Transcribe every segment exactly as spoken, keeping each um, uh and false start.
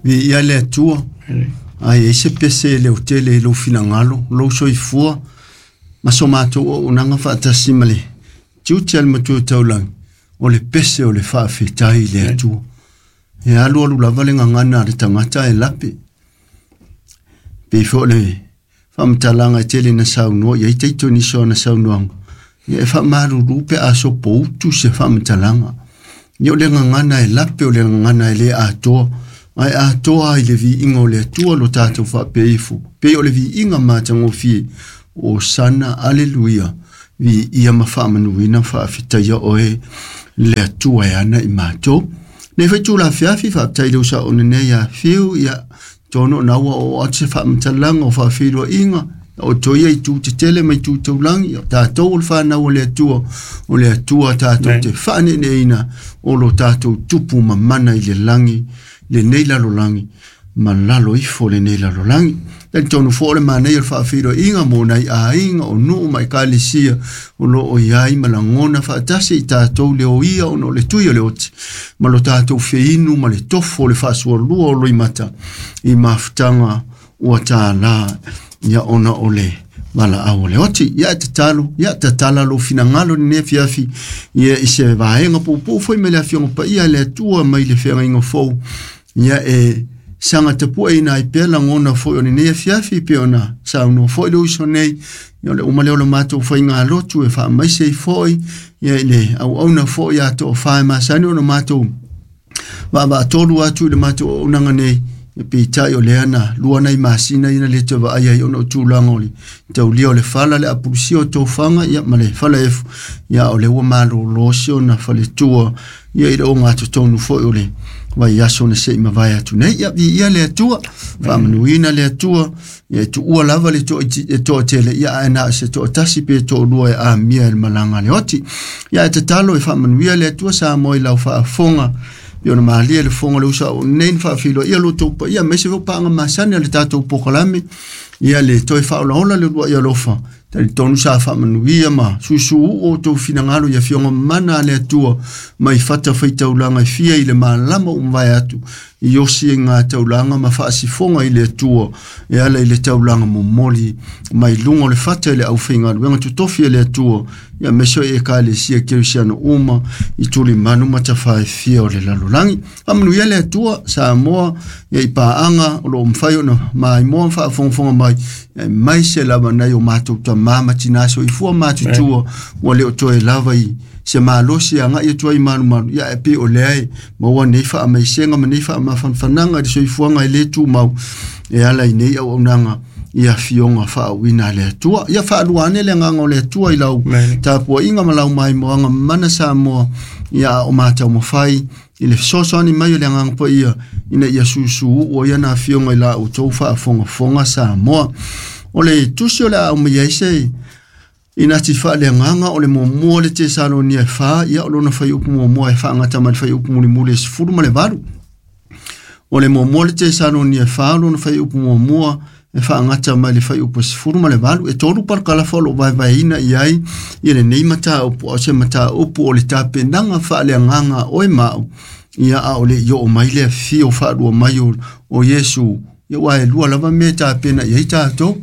Viia le Atua, ae i ai se pese e leotele i lou finagalo, lou soifua, ma so matou auaunaga faatasi ma le tiute a le Matua Taulagi, o le pese o le faafetai i le Atua. E alualu lava le gagana a le tagata e lape. Pei foi o le faamatalaga e tele na saunoa i ai taito nisi o ana saunoaga, ia e faamalulu pe a sopoutu se faamatalaga. Ia o le gagana e lape o le gagana e le atoa, ae atoa i le viiga o le Atua lo tatou faapea ifo. Pei o le viiga matagofie, o sana aleluia, viia ma faamanuina faafetaia oe le Atua e ana i matou. Nei foi tula afiafi faafetai i le usaone nei ia Fiu, ia tonu ona ua oo atu se faamatalaga o faafeiloaiga, o toia i tu tetele mai tu taulagi, o tatou o le fanau o le Atua, o le Atua tatou te faaneeneina o lo tatou tupu mamana i le lagi, lenei lalolagi, ma lalo ifo lenei lalolagi. Talitonu foi o le manaia o le faafeiloaiga mo nai aiga o nuu ma ekalesia o lo o i ai ma lagona faatasi i tatou le oia ona o le tui o le oti, ma lo tatou feinu ma le tofo o le faasualua o loimata i mafutaga ua tālā ia ona o le valaau o le oti. Ia e tatalo, ia tatala lou finagalo lenei afiafi, ia i se vaega puupuu foi mai le Afioga Paia a le Atua mai le feagaiga fou, ia e saga tapueina ai pea lagona foi o lenei afiafi pe ona saunoa foi le uso nei, ia o le uma lea o le matou faigalotu e faamaise ai foi, ia i le auauna foi a toafa e masani ona matou vaavaatolu atu i le matou auaunaga nei, ia peitai o lea na lua nai masina ina le toe vaai ai ona o tulaga o le taulia o le fala, le apulusia o tofaga, ia ma le fala efu, ia o lea ua malolo si ona faletua, ia i le ogatotonu foi o le vaiaso na se i mavae atu nei. Ia viia le Atua, faamanuina le Atua, ia e tuua lava le toatele, ia ae na o se toatasi pe toalua e amia i le malaga a le oti. Ia e tatalo e faamanuia le Atua Samoa i lau faafofoga, pe ona malie le fofoga o le uso au nei na faafiloia lo outou paia, aemaise foi paaga masani a le tatou pokalame, ia le toe faaolaola le uluai alofa. Talitonu sa faamanuia ma susuu o outou finagalo i afioga mana a le Atua mai fata faitaulaga e fia i le malama ua mavae atu i osi e ngā taulaga ma faasifoga i le Atua e ala i le taulaga momoli mai luga o le fata i le aufaigaluega totofi e le Atua, ia aemaise o Ekalesia Kerisiano uma i tulimanu ma tafaefia o le lalolagi. Faamanuia le Atua Samoa ia i paaga o lo o mafai ona maimoa ma faafogafoga mai, aemaise lava nai o matou tamā ma tinā soifua matutua ua le o toe lava i se malosi agai atu ai malumalu, ia e pei o lea e maua nei faamaisega ma nei faamafanafanaga i le soifuaga e le tumau e ala i nei auaunaga i afioga faauuina a le Atua. Ia faalua ane le agaga o le Atua i lau tapuaiga ma lau maimoaga mana Samoa, ia a o mataumafai i le fesoasoani mai o le agaga paia ina ia susuu o ia na afioga i la outou faafogafoga Samoa. O le tusi o le a aumai ai se ina ti faaleagaga o le muamua le Tesalonia e fa, ia o lona fuaiupu muamua e faagata mai le fuaiupu mulimuli e sefulu ma le valu. O le muamua le Tesalonia e fa, o lona fuaiupu muamua e faagata mai le fuaiupu e sefulu ma le valu. E tolu parakalafa o loo vaevaeina i ai ia lenei mataupu, a o se mataupu o le tapenaga faaleagaga oe ma au, ia a o le i oo mai le afio faalua mai o, o Iesu. Ia ua e lua lava mea e tapena i ai tatou.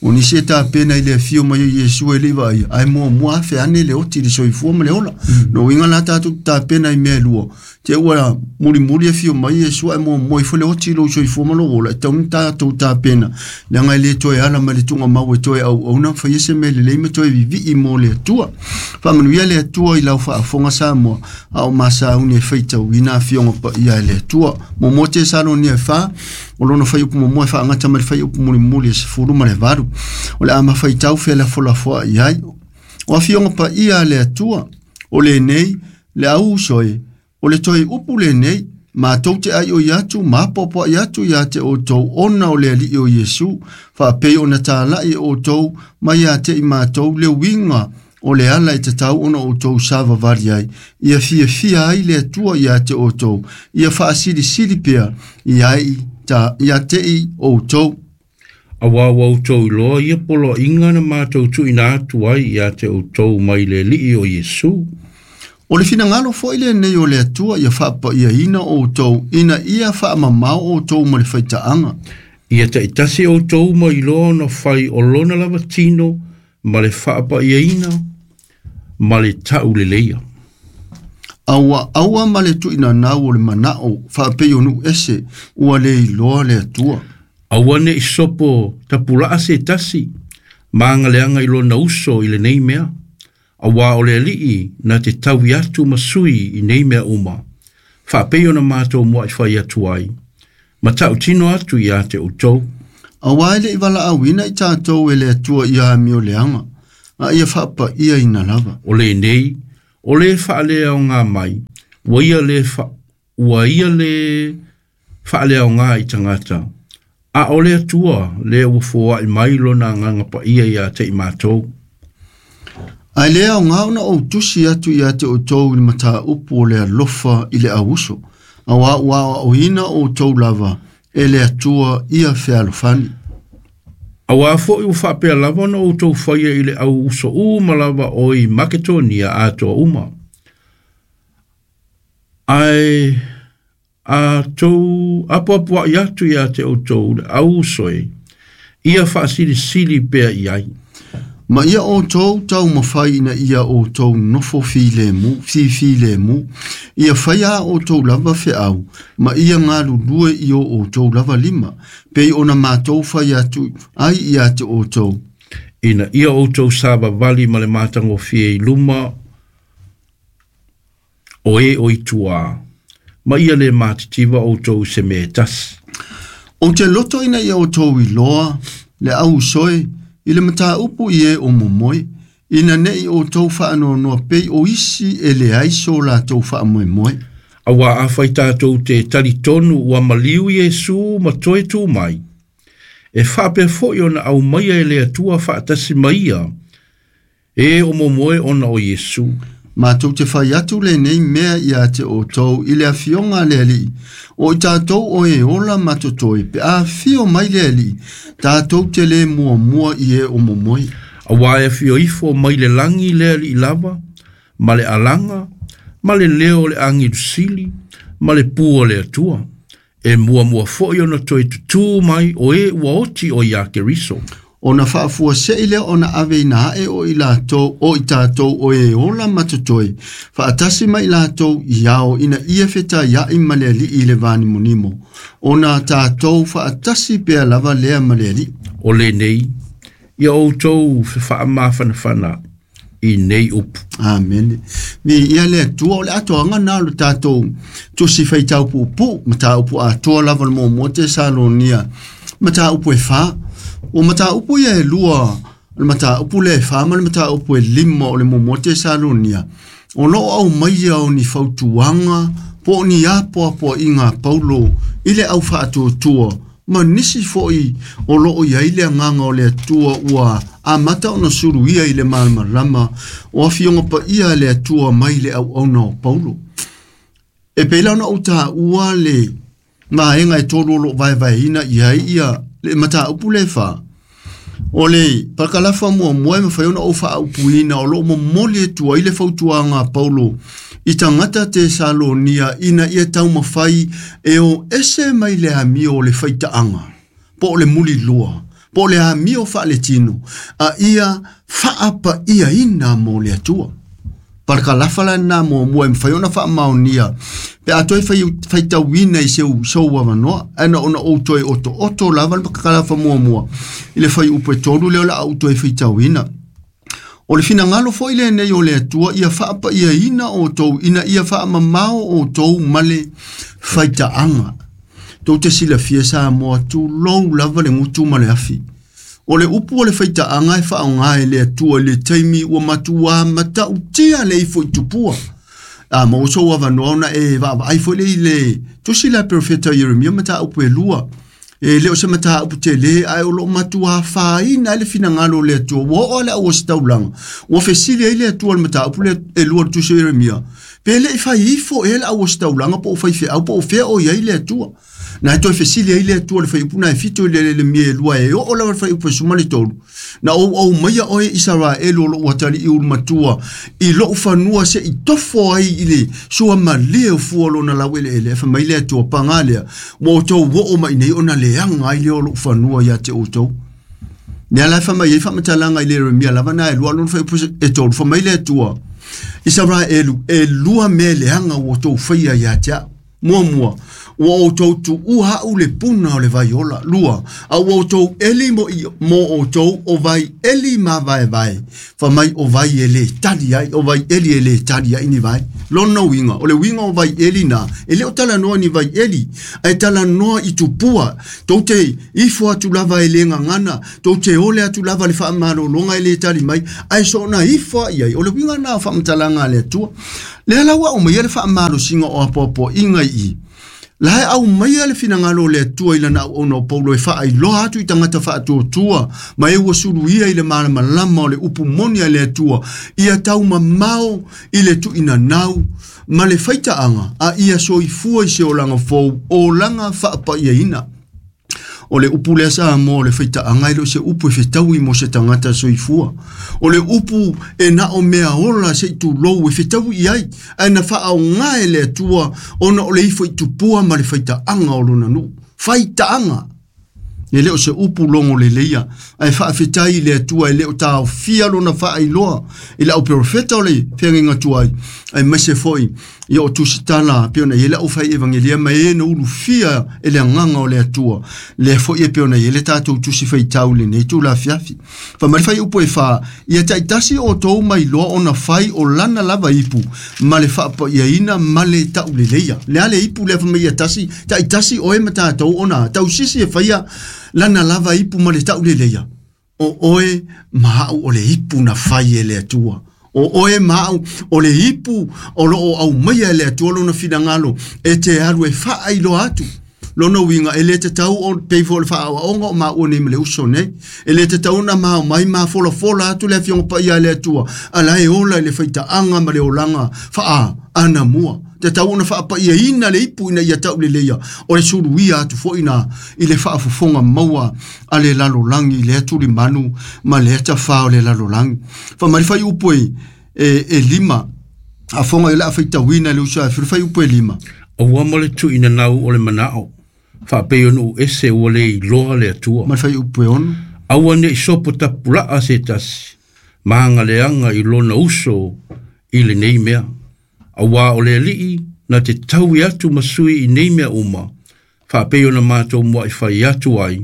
O nisi e tapena i le afio mai o Iesu e le i vaaia, ae muamua afe ane le oti i le soifua ma le ola. No uiga la tatou tapena i mea e lua. Te ua mulimuli afio mai Iesu ae muamua ifo le oti i lou soifua ma lou ola, e tatau ona tatou tapena, leaga e le toe ala mai le tuugamau e toe auauna faia se mea lelei ma toe vivii mo le Atua. Faamanuia le Atua i lau faafofoga Samoa, a o masauni e faitauina afioga paia e le Atua. Muamua Tesalonia e fa, o lona fuaiupu muamua e faagata mai le fuaiupu mulimuli e sefulu ma le valu. O le a mafaitau felafolafoai i ai. O afioga paia a le Atua, o lenei, le au uso e, o le toe upu lenei, matou te aioi atu, ma apoapoai atu ia te outou ona o le Alii o Iesu, faapei ona talai e outou mai ia te i matou le uiga o le ala e tatau ona outou savavali ai, ia fiafia ai le Atua ia te outou, ia faasilisili pea i ai ta ia te i outou. Auā ua outou iloa ia poloaiga na matou tuuina atu ai ia te outou mai le Alii o Iesu. O le finagalo fo'i lenei o le Atua ia fa'apa'iaina outou ina ia fa'amamao outou ma le faita'aga. Ia ta'itasi outou ma iloa ona fai o lona lava tino ma le fa'apa'iaina ma le ta'uleleia. Aua aua ma le tu'inanau o le mana'o fa'apei o nu'u ese ua lē iloa le Atua. Aua ne'i sopo tapula'a se tasi ma agaleaga i lona uso i lenei mea. Auā o le Ali'i na te taui atu ma sui i nei mea uma. Fa'apei ona matou mua'i fai atu ai. Ma ta'utino atu iā te outou. Auā e le'i vala'auina i tatou e le Atua ia amioleaga, a ia fa'apa'iaina lava. O lenei, o le fa'aleaogā mai, ua ia le fa, ua ia le fa'aleaogā i tagata. A o le Atua lea ua foa'i mai lona agaga pa'ia iā te i matou. Ae lē aogā ona ou tusi atu iā te outou i le matāupu o le alofa i le auuso, auā ua aoaoina outou lava e le Atua ia fealofani. Auā fo'i ua fa'apea lava ona outou faia i le auuso uma lava o i Maketonia atoa uma. Ae a tou apoapoa'i atu iā te outou le auuso e, ia fa'asilisili pea i ai. Ma ia outou taumafai ina ia outou nofo filemu, fifilemu, ia faia a outou lava fe'au, ma ia galulue i o outou lava lima, pei ona matou fai atu ai iā te outou. Ina ia outou savavali ma le matagofie i luma o e o i tuā, ma ia lē matitiva outou i se mea e tasi. Ou te loto ina ia outou iloa le auuso e, i le matāupu i e o momoe, ina ne'i outou fa'anoanoa pei o isi e leai so latou fa'amoemoe. Auā afai tatou te talitonu ua maliu Iesu ma toe tū mai. E fa'apea fo'i ona aumaia e le Atua fa'atasi ma ia, e o momoe ona o Iesu. Matou te fai atu lenei mea iā te outou i le afioga a le Ali'i, o i tatou o e ola ma totoe pe a afio mai le Ali'i, tatou te lē muamua i e o momoe. Auā e afio ifo mai le lagi le Ali'i lava, ma le alaga, ma le leo o le agilusili, ma le pū o le Atua. E muamua fo'i ona toe tutū mai o e ua oti o iā Keriso. Ona fa'afuase'i lea ona aveina a'e o i latou o i tatou o e ola ma totoe, fa'atasi ma i latou i ao ina ia fetaia'i ma le Ali'i i le vanimonimo. Ona tatou fa'atasi pea lava lea ma le Ali'i. O lenei, ia outou fefa'amafanafana i nei upu. Amene. Mi ia le Atua o le atoaga na o le tatou tusi faitau puupuu, matāupu atoa lava le muamua Tesalonia, matāupu e fā. O matāupu ia e lua, o le matāupu lea e fā ma le matāupu e lima o le muamua Tesalonia. O loo aumaia o ni fautuaga po o ni apoapoa'iga a Paulo i le au fa'atuatua ma nisi fo'i o loo iai le agaga o le Atua ua amata ona suluia i le malamalama o afioga pa'ia a le Atua mai le auauna o Paulo. E pei la ona ou tāua le vaega e tolu o lo'o vaevaeina i ai ia le matāupu le fā. O le pakalafa muamua e mafai ona ou fa'aupuina o lo'o momoli atu ai le fautuaga a Paulo i tagata Tesalonia ina ia taumafai e o ese mai le amio o le faita'aga, po o le mulilua, po o le amio fa'aletino, a ia fa'apa'iaina mo le Atua. Pakalafa lana muamua e mafai ona fa'amaonia pe a toe faitauina i seu sou avanoa, ae ona ou toe otooto lava le pakalafa muamua i le faiupu e tolu lea o le a ou toe faitauina. O le finagalo fo'i lenei o le Atua ia fa'apa'iaina outou ina ia fa'amamao outou ma le faita'aga. Tou te silafia Samoa tulou lava le gutu ma le afi. O le upu o le faita'aga e fa'aogā e le Atua i le taimi ua matuā mata'utia le ifo i tupua. A ma o sou avanoa ona e va'avaai fo'i le i le tusi la profeta Ieremia matāupu e lua. E le o se matāupu telē ae o lo'o matuā fāina ai le finagalo o le Atua. Ua oo a le auositaulaga. Ua fesili ai le Atua le matāupu le e lua le tusi o Ieremia. Pe le'i fai ifo ea le auositaulaga po o faife'au po o fea o iai le Atua. Na toe fesili ai le Atua le fuaiupu na e fitu i le le mie lua e oo lava le fuaiupu e suma le tolu. Na ou au maia oe Isaraelu o lou atalii ulumatua i lou fanua se i tofo ai i le suamalie o fua o lona laueleele e fai mai le Atua paga lea ua outou oo mai nei ona leaga ai lea o lou fanua ia te outou. Lea la e fai mai ai faamatalaga i le Ieremia lava na e lua lona fuaiupu e tolu fai mai le Atua Isaraelu e lua mea leaga ua outou faia ia te au. Muamua, ua outou tuua au le puna o le vaiola. Lua, a ua outou eli mo, i, mo outou o vai eli mavaevae. Fa mai o vai e le tali ai, o vai eli e le tali ai ni vai. Lona uiga, o le uiga o vai eli na, e le o talanoa ni vai eli, ae talanoa i tupua. Tou te ifo atu lava e le gagana, tou te ole atu lava le faamalologa e le tali mai, ae soona ifo ai ai. O le uiga na o faamatalaga a le Atua. Lea la ua aumaia le faamalosiga o apoapoaiga i i. La e aumaia le finagalo o le Atua i lana auauna o Paulo e faailoa atu i tagata faatuatua ma e ua suluia i le malamalama o le upu moni a le Atua ia taumamao i le tuuinanau ma le faitaaga a ia soifua i se olaga fou olaga faapaiaina. O le upu lea sa mo le faitaaga e le o se upu e fetaui mo se tagata soifua. O le upu e na o mea ola se i tulou e fetaui i ai, ae na faaoga e le Atua ona o le ifo i tupua ma le faitaaga o lona nuu. Faitaaga. E le o se upu logo leleia, ae faafetai i le Atua e le o taofia lona faailoa i le auperofeta o le feagaiga tuai, aemaise foi ia o tusitala pei ona i ai le aufai evangelia ma e na ulufia e le agaga o le Atua. Lea foi e pei ona i ai le tatou tusi faitau i lenei tulafiafi. Fai mai le fuaiupu e fa, ia taitasi outou mailoa ona fai o lana lava ipu ma le faapaiaina ma le tauleleia. Le a le ipu lea fai mai ia tasi, taitasi oe ma tatou ona tausisi e faia lana lava ipu ma le tauleleia. O oe ma au o le ipu na fai e le Atua. O oe ma au o le ipu o loo aumaia e le Atua lona finagalo e te alu e faailoa atu. Lona uiga e le tatau o pei foi o le faaoaoga o maua nei ma le uso nei. E le tatau na mao mai mafolafola atu le afioga paia a le Atua ala e ola i le faitaaga ma le olaga faa anamua. Tatau ona faapaiaina le ipu ina ia tauleleia o le suluia atu foi na i le faafofoga maua a le lalolagi i lea tulimanu ma lea tafā o le lalolagi. Fai mai le fuaiupu e, e, e lima, afoga i le a faitauina le uso ae le fuaiupu e lima. Aua ma le tuuinanau o le manao, faapei o nuu ese ua le iloa le Atua. Ma le fuaiupu e ono. Aua nei sopo tapulaa se tasi, ma agaleaga i lona uso i lenei mea. Auā o le Alii na te taui atu ma sui i nei mea uma, faapei ona matou muai fai atu ai,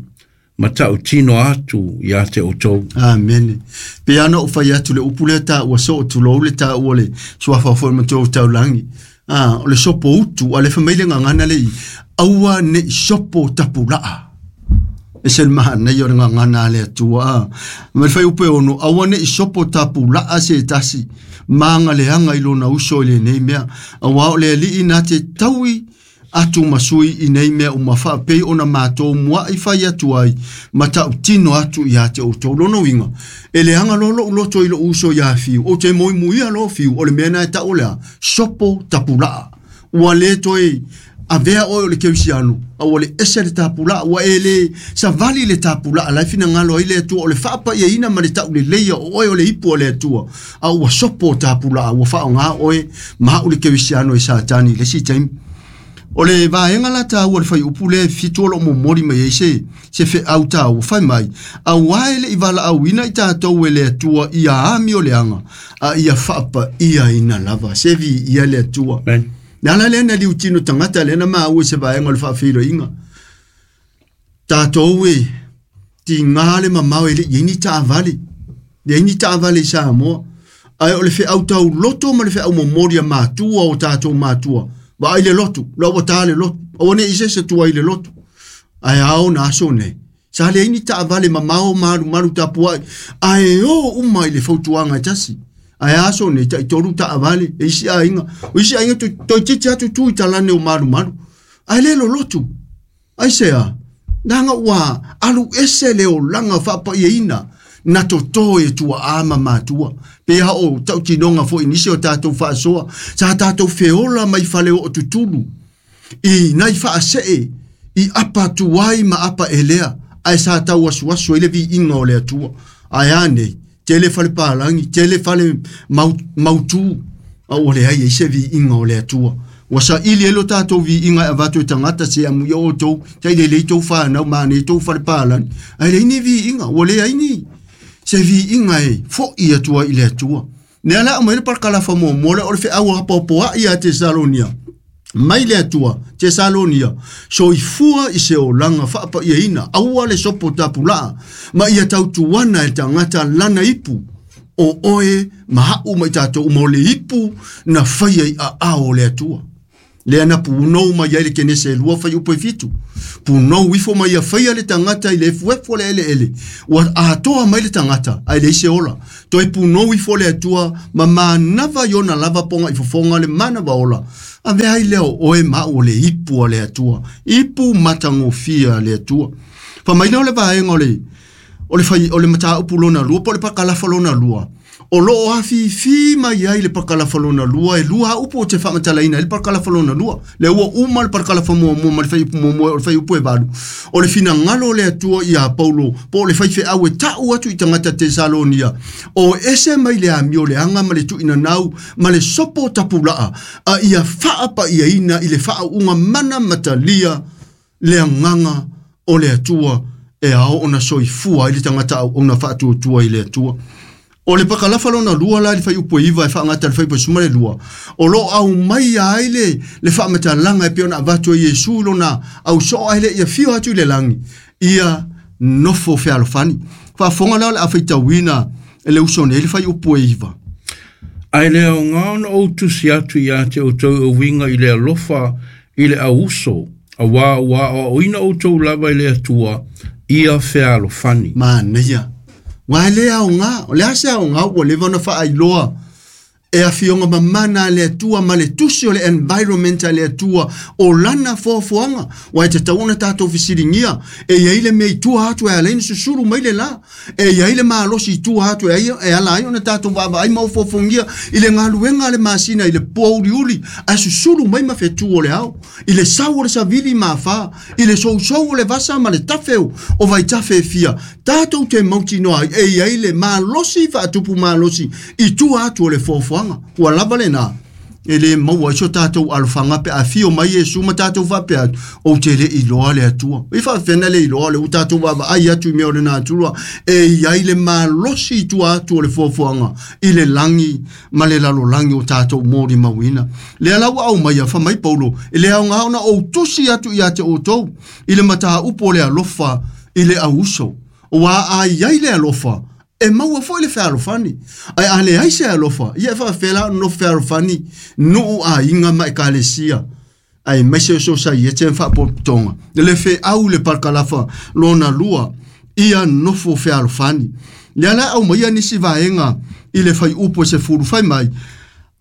ma tautino atu ia te outou. Amene. Pe ana o fai atu le upu lea taua soo tulou le taua le suafa foi matua o taulagi. Ah, o le sopo utu, a le fai mai le gagana le i, aua nei sopo tapulaa. E se le mahanai o le gagana a le Atua. Ah. Ma le fuaiupu e ono, aua nei sopo tapulaa se tasi, ma agaleaga i lona uso i lenei mea. Auā o le Alii na te taui atu ma sui i nei mea uma faapei ona matou muai fai atu ai ma tautino atu ia te outou. Lona uiga, e leaga loa lou loto i lou uso ia Fiu, ou te moemoia loa Fiu, o le mea na e tau o lea, sopo tapulaa. Ua le toe avea oe o le kerisiano, a ua le ese le tapulaa, ua e le savali le tapulaa, la e finagalo ai le Atua, o le faapaiaina ma le tauleleia o oe o le ipu o le Atua, a ua sopo tapulaa, ua faaaoga oe ma au le kerisiano e Satani i le isi taimi. O le vaega la taua le fuaiupu lea e fitu o loo momoli mai ai se, se feau taua fai mai. Auā e le i valaauina i tatou e le Atua ia amioleaga, a ia faapaiaina lava. Se viia le Atua. Amen. Le ala lea na liutino tagata lea na maua i se vaega o le faafeiloaiga. Tatou e tigā le mamao e le i ai ni taavale. Leai ni taavale i Samoa. Ae o le feau tauloto ma le feau momoli a matua o tatou matua. Vaai le lotu, la ua tā le lotu. Aua nei se se tua i le lotu. Ae ao na aso nei. Sa leai ni taavale mamao malumalu tapuai. Ae o uma i le fautuaga e tasi. Ae aso nei taitolu taavale e isi aiga. O isi aiga toeitiiti atu tu i talane o malumalu. Ae le lolotu. Ai se a. Leaga ua alu ese le olaga faapaiaina na toto e tuaa ma matua. Pe ha o tautinoga foi nisi o tatou faasoa. Sa tatou feola mai fale o tutulu. I nai faasee I apa tuai ma apa elea ai sa tau asuasu ai le viiga o le Atua. Ae a nei, tele fale palagi, tele fale mautū, a ua leai ai se viiga o le Atua. Ua saili ai lo tatou viiga e avatu e tagata se amuia outou, tailelei tou fanau ma anei tou fale palagi, ae leai ni viiga, ua leai ni se viiga e fo'i atu ai i le Atua. Lea la aumai le palakalafa muamua lea o le feau apoapoa'i ia Tesalonia. Mai le Atua, Tesalonia, soifua i se olaga faapaiaina, aua le sopo tapulaa, ma ia tautuana e tagata lana ipu, o oe ma a'u ma i tatou uma o le ipu na faia i aao o le Atua. Lea na punou mai ai le kenese e lua faiupu e fitu. Punou ifo mai ia faia le tagata i le efuefu o le eleele. Ua atoa mai le tagata, ae leai se ola. Toe punou ifo le Atua, ma manava i ona lava poga i fofoga le manava ola. Avea ai lea o oe ma a'u o le ipu a le Atua. Ipu matagofie a le Atua. Famaina o le vaega o le o le fai o le mataupu lona lua po o le pakalafa lona lua. O loo afifi mai ai le pakalafa lona lua, e lua upu o te faamatalaina ai le pakalafa lona lua. Le ua uma le pakalafa muamua ma le faiupu muamua o le faiupu e valu. O le finagalo o le Atua ia Paulo, po o le faifeau e ta'u atu i tagata Tesalonia. O ese mai le amio leaga ma le tuuinanau ma le sopo tapulaa, a ia faapaiaina i le faauuga mana matalia le agaga o le Atua e ao ona soifua ai le tagata auauna faatuatua i le Atua. O le pakalafa lona lua la i le faiupu e iva e faagata i le faiupu e sefulu ma le lua. O loo aumai ai le, le faamatalaga e pei ona avatu e Iesu lona ausoo ai le ia fio atu i le lagi, ia nofo fealofani. Faafofoga la o le a faitauina e le uso nei le faiupu e iva. Ae le aoga ona ou tusi atu ia te outou e uiga i le alofa i le auuso, auā ua aoaoina outou lava i le Atua, ia fealofani. Manaia. Ua e le aoga, o le a se aoga ua leva ona faailoa e afioga mamana a le Atua ma le tusi o le environment a le Atua o lana foafoaga. Ua e tatau ona tatou fesiligia, e iai le mea i tua atu e ala ai ona susulu mai le la, e iai le malosi i tua atu e ai, e ala ai ona tatou vaavaai ma ofoafogia i le galuega a le masina i le poauliuli, ae susulu mai ma fetu o le ao, i le sau o le savili ma afā, i le sousou o le vasa ma le tafeu o vaitafe e fia. Tatou te mautinoa ai e iai le malosi faatupu malosi i tua atu o le foafoaga. Ua lava lena, e le maua ai so tatou alofaga pe a fio mai Iesu ma tatou faapea atu, ou te le iloa le Atua. I faafena le iloa le ua tatou vaavaai atu i mea o le natura, e iai le malosi i tua atu o le foafoaga i le lagi ma le lalolagi o tatou molimauina. Lea la ua aumaia famai Paulo, e le aoga ona ou tusi atu ia te outou i le mataupu o le alofa i le auuso. Ua a iai le alofa, e maua foi le fealofani. Ae a leai se alofa, ia e faafela ona nofo fealofani nuu aiga ma ekalesia. Ae maise o sosaiete ma faapotopotoga. Le feau le pakalafa lona lua, ia nofo fealofani. Lea la aumaia nisi vaega i le faiupu e sefulu fai mai,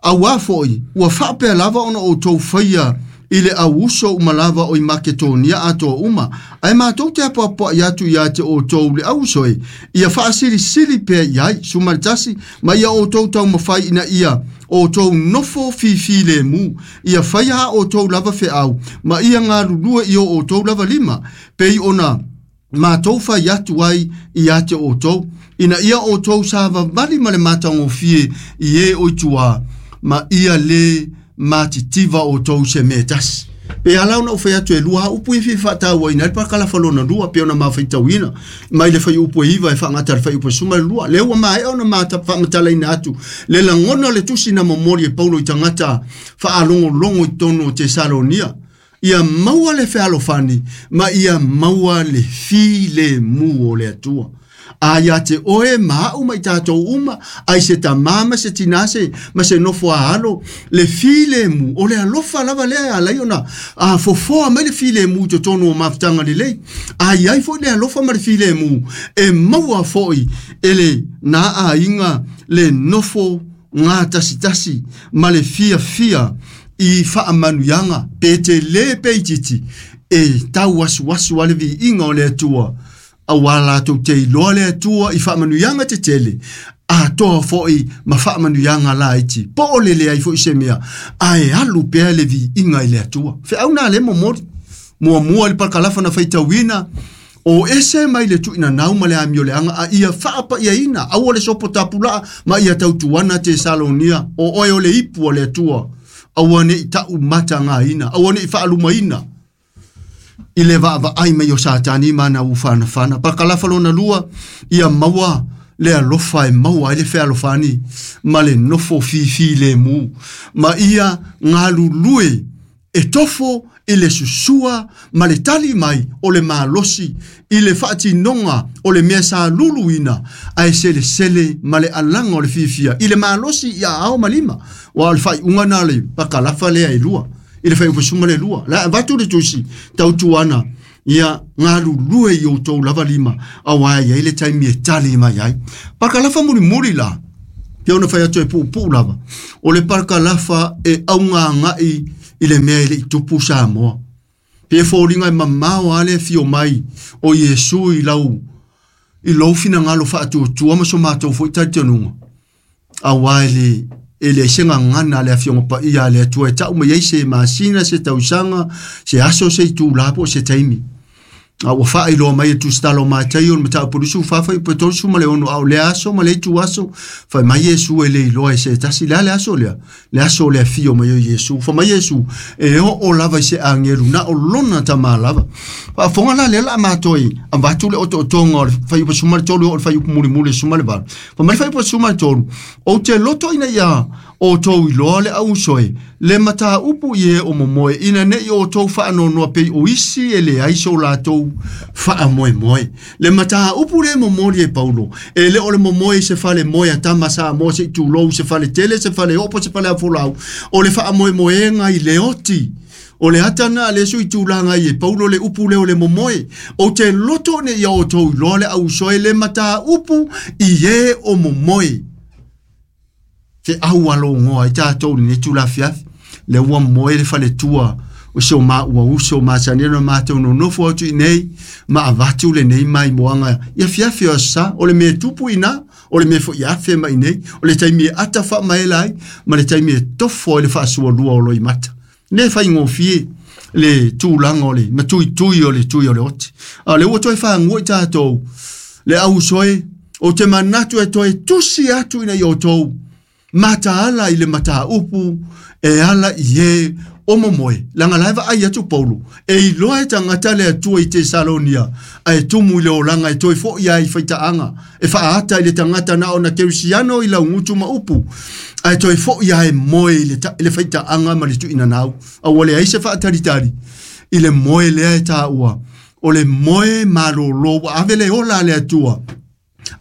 auā foi, ua faapea lava ona outou faia i le auuso uma lava o i Maketonia atoa uma, ae matou te apoapoai atu ia te outou le auuso e, ia faasilisili pea i ai, sumaletasi, ma ia outou taumafai ina ia outou nofo fifilemu, ia faia a outou lava feau, ma ia galulue i o outou lava lima, pei ona matou fai atu ai ia te outou, ina ia outou savavali ma le matagofie i e o i tua, ma ia le matitiva outou se mea tasi. Pe ala ona ou fai atu e lua upu e fia faatauaina ai le pakalafa lona lua, pe ona mafaitauina mai le faiupu e iva e faagata i le faiupu e sefulu ma le lua. Lea ua maea ona mata faamatalaina atu le lagona o le tusi na momoli e Paulo i tagata faalogologo i totonu o Tesalonia. Ia maua le fealofani ma ia maua le filemu o le Atua. A ia te oe ma a'u ma i tatou uma, ai se tamā ma se tinā se, ma se nofo a alo, le filemu o le alofa lava lea e ala ai ona a fofoa mai le filemu i totonu o mafutaga lelei. A iai foi le alofa ma le filemu e maua foi e le na aiga le nofo gatasitasi ma le fiafia i faamanuiaga pe tele pe itiiti e tauasuasu a le viiga o le Atua. Auā latou te iloa le Atua i faamanuiaga tetele, atoa foi ma faamanuiaga laiti. Po o le leai foi se mea, ae alu pea le viiga i le Atua. Feau na le momoli. Muamua i le parakalafa na faitauina o ese mai le tuuina nau ma le amio leaga a ia faapaiaina aua le sopo tapulaa ma ia tautuana Tesalonia o oe o le ipu o le Atua aua nei tau matagaina aua nei faalumaina i le vaavaai mai o Satani ma na ufanafana. Parakalafa lona lua ia maua le alofa e maua ai le fealofani ma le nofo fifi le mu ma ia galulue e tofo i le susua ma le tali mai o le malosi i le faatinoga o le mea sa luluina ae selesele ma le alaga o le fiafia i le malosi ia ao ma lima ua o le faaiuga na le pakalafa lea e lua i le faiupasuma le lua la avatu le tusi tautuana ia galulue i outou lava lima auā e iai le taimi e tali mai ai. Pakalafa mulimuli la pe ona fai atu e puupuu lava o le pakalafa e augaga'i i le mea e le'i tupu Samoa. Pe foliga e mamao a le afio mai o Iesu i lau i lou finagalo faatuatua ma so matou fo'i talitonuga auā e le e leai se gagana a le afioga paia a le Atua e ta'u mai ai se masina se tausaga se aso se itulā po o se taimi. A ua faailoa mai e tusitala o Mataio le mataupu lusu fafai pe tolusu ma le ono a o le aso ma le itu aso fai mai Iesu e le iloa e se tasi le a le aso lea le aso o le afio mai o Iesu fa mai Iesu e oo lava i se agelu na o lona tamā lava. Faafofoga la lea la a matou avatu le otootoga o le faiupa suma le tolu o le faiupu mulimuli suma le valu. Fa mai le faiupa suma le tolu ou te loto ina ia outou iloa le ausoe le mataupu i e o momoe ina nei outou faanoanoa pei o isi e leai so latou faamoemoe. Le mataupu le momoli e Paulo e le o le momoe i se fale moe a tama Samoa se i tulou se fale tele se fale opo se fale afolau o le faamoemoega i le oti o le atana a le sui tulaga i e Paulo le upu leo le momoe o te loto ne ia outou iloa le ausoe le mataupu i e o momoe. Te au alogoa i tātou lenei tulafiafi le ua moe le faletua o se o maua uso masani na mātou nonofo atu i nei ma avatu lenei maimoaga ia fiafi o sa o le mea tupu ina o le mea fo'i afe mai nei o le taimi e ata faamaela ai ma le taimi e tofo ai le faasualua o loimata. Le faigofie le tulaga o le matuitui o le tui o le oti a o le ua toe fagua i tātou le ausoe o te manatu e toe tusi atu ina i outou mataala i le mataupu e ala i e o momoe laga lae vaai atu Paulo e iloa e tagata le Atua i Tesalonia ae tumu i le olaga e toe fo'i ai i faitaaga e faaata i le tagata na ona keusiano i laugutu ma upu ae toe fo'i ai moe i le, ta, i le faitaaga ma le tuuinanau aua leai se faatalitali i le moe lea e tāua o le moe malōlō ua ave le ola a le Atua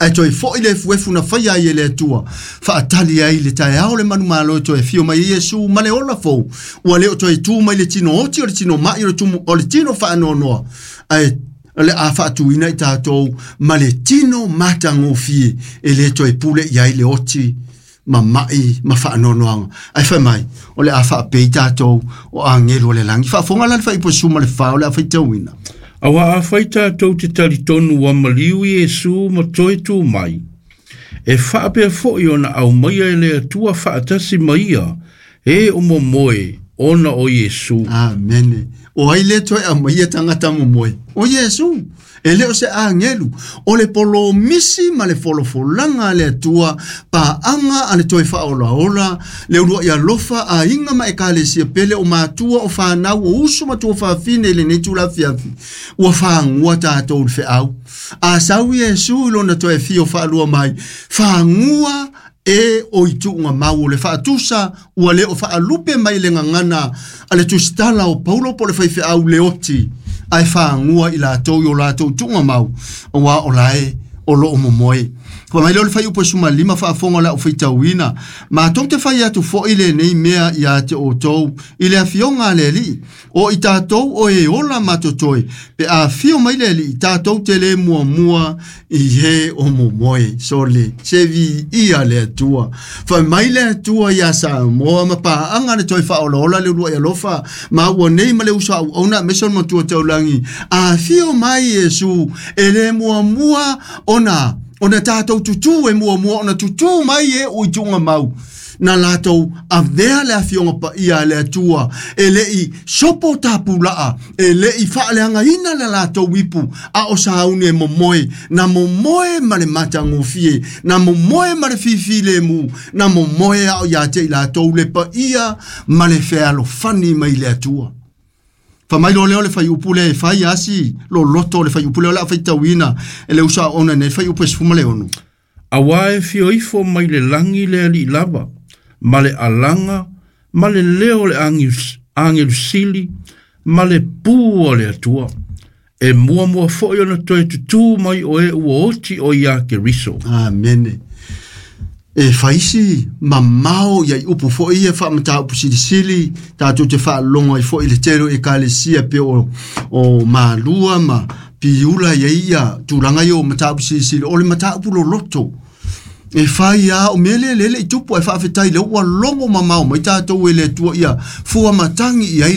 ae toe fo'i le efuefu na faia ai e le Atua faatali ai le taeao le manumalo e toe afio mai ai Iesu ma le ola fou ua le o toe tu mai le tino oti o le tino ma'i o le tumu o le tino faanoanoa ae le a faatuina i tātou ma le tino matagofie e le toe pule i ai le oti ma ma'i ma faanoanoaga ae fai mai o le a faapei tātou o agelu o le lagi. Faafofoga la le faipusuma le fa o le a faitauina. Auā afai tātou te talitonu ua maliu Iesu ma toe tū mai. E faapea fo'i ona aumaia e le Atua faatasi ma ia e o momoe ona o Iesu. Amene. O ai le toe aumaia tagata momoe o Iesu e le o se agelu o le polomisi ma le folofolaga a le Atua paaga a le toe faaolaola le ulua'i alofa aiga ma ekalesia pele o matua o fanau o uso ma tua fafine i lenei tulafiafi ua fagua tātou le feau. A sau Iesu i lona toe fio faalua mai fagua e o i tuuga mau o le faatusa ua le o faalupe mai le gagana a le tusitala o Paulo po o le faifeau le oti ae fagua i latou i o latou tuuga mau auā o lae o loo momoe. Fa mai lea o le faiupu e suma lima faafofoga o le au faitauina matou te fai atu fo'i lenei mea ia te outou i le afioga a le Alii o i tātou o e ola matotoe pe afio mai le Alii tātou te lē muamua i e o momoe sole se viia le Atua. Fai mai le Atua iā Samoa ma paaga le toe faaolaola le ulua'i alofa ma ua nei ma le uso auauna aemaise o le matua taulagi afio mai Iesu e lē muamua ona ona tātou tutū e muamua ona tutū mai e o i tuuga mau Na latou avea le afioga paia a le Atua e le'i sopo tapula'a e le'i faaleagaina le latou ipu a o sauni e momoe na momoe ma le matagofie na momoe ma le fifilemu na momoe ao ia te i latou le paia ma le fealofani mai le Atua. Fa mai lo leo le fai upu le fai asi lo loto le fai upu le o le a faitauina e le usa ona nei fai upu e sefuma le ono. Auā e fio ifo mai le lagi le Alii lava, ma le alaga, ma le leo o le agelu sili, ma le pū o le Atua. E muamua fo'i ona toe tutū mai o e ua oti o iā Keriso. Amene. E faisi mamao ia i upu fo'i ia faamataupu silisili tatou te faalogo ai fo'i le tele o ekalesia pe o, o malua ma piula ia ia tulaga ia o mataupu silisili o le mataupu loloto. E fai a o mea lea lele i tupu ai faafetai le ua logo mamao mai tatou e le Atua ia fua matagi i ai.